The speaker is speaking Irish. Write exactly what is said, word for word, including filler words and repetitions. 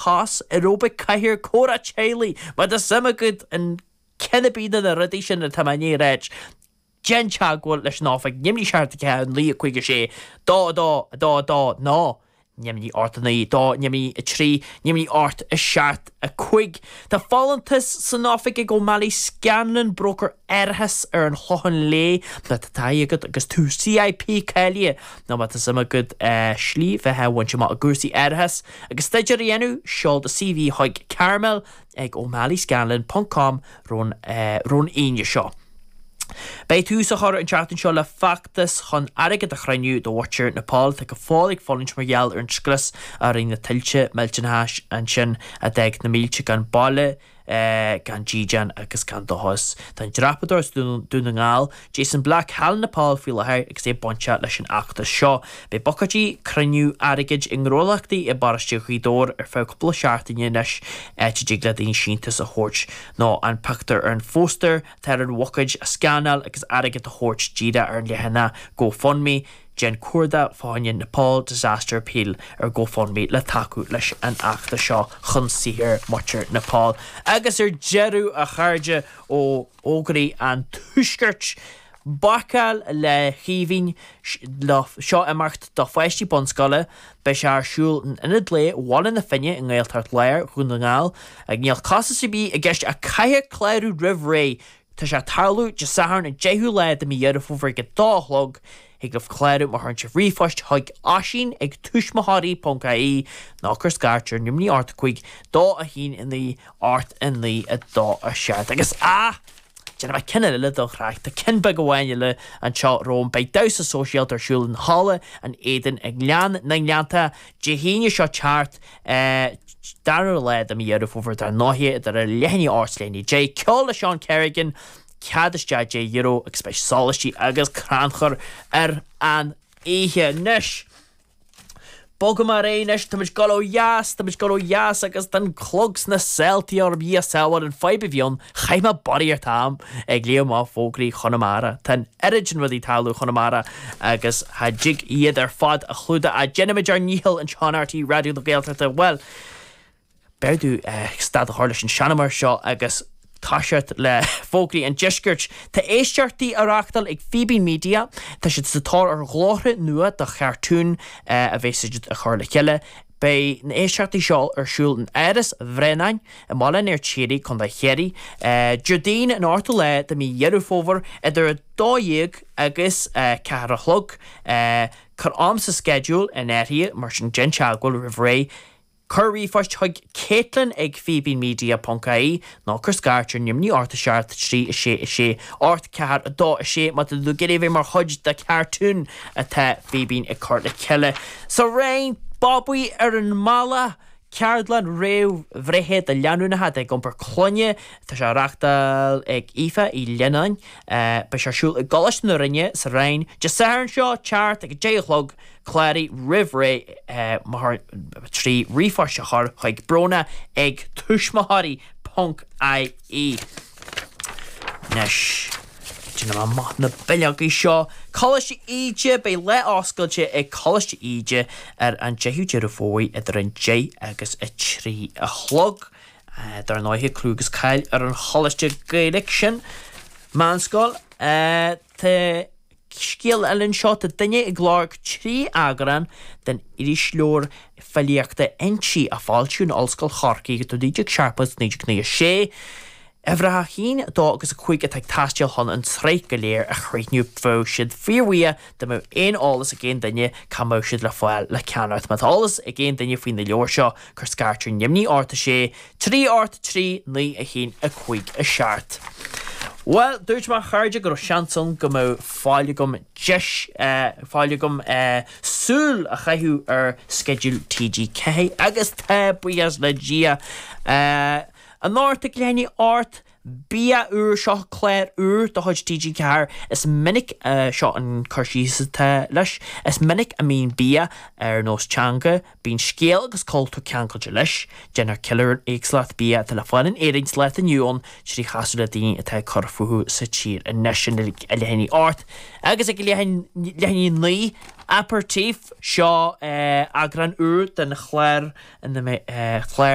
Cos, aeróbaic, cathaoir, comhrá teaghlaigh, má tá suim agat in ceann ar bith de na rudaí sin atá mé i ndiaidh a ráit, déan teagmháil leis an oifig, neamhní seacht a ceathair naoi a cúig a sé, dó a dó, a dó a dó, nó neamhní ocht a naoi, dó neamhní a trí, neamhní ocht a seacht a cúig. Tá folúntas san oifig ag O'Malley Scanlon, bróicéir árachais ar an Chlochán Léith. Má tá taithí agat agus tú C I P cáilithe nó má tá suim agat slí bheatha a bhaint amach i gcúrsaí árachais agus staidéar a dhéanamh, seol do C V chuig Carmel ag O'Malley Scanlon ponc com roimh an Aoine seo. Beidh tús á chur an tseachtain seo le feachtas chun airgead a chruinniú do mhuintir Nepal atá go fóill ag fulaingt mar gheall ar an scrios a rinne na tuilte millteanacha ansin a d'fhág na mílte gan baile, gan dídean agus gan dóchas. Tá an dreapadóir as Dún na nGall, Jason Black, thall in Nepal faoi láthair agus é bainteach leis an fheachtas seo. Beidh buicéidí cruinniú airgid i ngnólachtaí i bparóiste Ghaoth Dobhair ar feadh cúpla seachtaine anois, áit a dtig le daoine síntiús a thabhairt nó an pictiúr ar an phóstaer atá ar an bhuicéid a scanáil agus airgead a thabhairt díreach ar an leathanach GoFundMe. Déan cuardach fá choinne Nepal Disaster Appeal ar GoFundMe le tacú leis an fheachtas seo chun saothair muintir Nepal. Agus ar deireadh, a chairde, ó fhógraí an Tuaiscirt. Bácáil le hAoibhinn, seo imeacht do pháistí bunscoile. Beidh sé ar siúl in Ionad Lae Bhaile na Finne i nGaeltacht Láir Dhún na nGall. Ag níl costas ar bith i gceist ach caithfidh clárú roimh ré. Tá sé ag tarlú Dé Sathairn an deichiú lá de mí Dheireadh Fómhair ag a dó a chlog. Thig libh clárú má chuireann sibh ríomhphost chuig Oisín ag tuismitheoirí ponc I E nó cuir scairt ar neamhní ocht a cúig dó a haon a naoi ocht a naoi a dó a seacht. Agus ah! Déanfaidh mé ceann eile don chraic. Tá ceann beag amháin eile anseo romham. Beidh damhsa sóisialta ar siúl in Halla an Éadain i nGleann na nGleannta Dé hAoine seo teacht, dara lá de mí Dheireadh Fómhair dar ndóigh, idir a leath i ndiaidh a hocht is leath i ndiaidh a deich. Ceol le Seán Kerrigan, cead isteach deich euro agus beidh sólaistí agus crannchur ar an oíche. Anois! Bogfaidh mé ar aghaidh anois, táimid ag dul ó dheas, táimid ag dul ó dheas agus tá an clog sna saoltaí orm, Dhia sábháil, an fadhb a bhí ann, chaith mé barraíocht am ag léamh amach fógraí Chonamara. Tá an oiread sin rudaí ag tarlú i Chonamara agus cha dtig iad ar fad a chlúdach ach déanaimid ár ndícheall anseo in R T Raidió na Gaeltachta. Bhuel, b'fhearr domh stad a chur leis an seanamar seo agus toiseacht le fógraí an deiscirt. Tá éisteachtaí á reáchtáil ag Fíbín Media, tá siad sa tóir ar ghlórtha nua do chartún a bheas siad a chur le chéile. Beidh na héisteachtaí seo ar siúl in Áras Bhréanainn i mBaile an Fheirtéaraigh, Contae Chiarraí, Déardaoin an ochtú lá de mí Dheireadh Fómhair idir a dó dhéag agus ceathair a chlog. Cuir am sa sceideal in áirithe, mar sin déan teagmháil roimh ré. Cuir ríomhphost chuig Caitlin ag fíbínmedia ponc I E nó cuir scairt ar neamhní ocht a seacht trí a sé a sé ocht ceathair a dó a sé má tá tú ag iarraidh a bheith mar chuid de cartún atá Fíbín ag cur le chéile. Sa Rinn, Babaí ar an mBealach, ceardlann réamhbhreithe do lánúineacha ag iompar clainne, tá sé á reáchtáil ag Aoife Uí Leannáin. Beidh sé ar siúl i gColáiste na Rinne sa Rinn Dé Sathairn seo teacht ag a deich a chlog. Cláraigh roimh ré trí ríomhphost a chur chuig Bróna ag tuismitheoirí ponc I E. Anois, déanfaidh mé amach na bileogaí seo. Coláiste Íde, beidh lá oscailte ag Coláiste Íde ar an deichiú Deireadh Fómhair idir an deich agus a trí a chlog. Dar ndóigh, clú agus cáil ar an choláiste Gaeilge sin. Meánscoil, tá scéal eile anseo, tá duine ag lorg trí eagrán den irisleabhar filíochta Innti a foilsíodh in Ollscoil Chorcaí idir naoi déag seachtó agus naoi déag nócha a sé. Uimhreacha a haon, a dó agus a cúig atá ag teastáil chun an tsraith go léir a chríochnú. Bheadh siad fíorbhuíoch dá mbeadh aon eolas ag aon duine cá mbeadh siad le fáil le ceannacht. Má tá eolas ag aon duine faoi na leabhair seo, cuir scairt ar neamhní ocht a sé, trí ocht trí, naoi a haon a cúig a seacht. Bhuel, dúirt mé, a chairde, go raibh seans ann go mbeadh fáil agam deis fáil agam súil a chaitheamh ar sceideal T G ceathair agus tá, buíochas le Dia. Anocht ag leath i ndiaidh a hocht. Bia úr seo clár úr de chuid TG Ceathair is minic uh, seo an cur síos atá leis. Is minic a mbíonn bia ar nós teanga, bíonn scéal agus cultúr ceangailte leis, Déantar ceiliúradh éagsúlacht bia atá le fáil in Éirinn sa lá atá inniu ann trí chasadh le daoine atá ag cur fúthu sa tír anois sin ag leath i ndiaidh a hocht agus ag leath i ndiaidh a naoi Aperitif seo uh, eagrán úr den chlár ina uh, chlár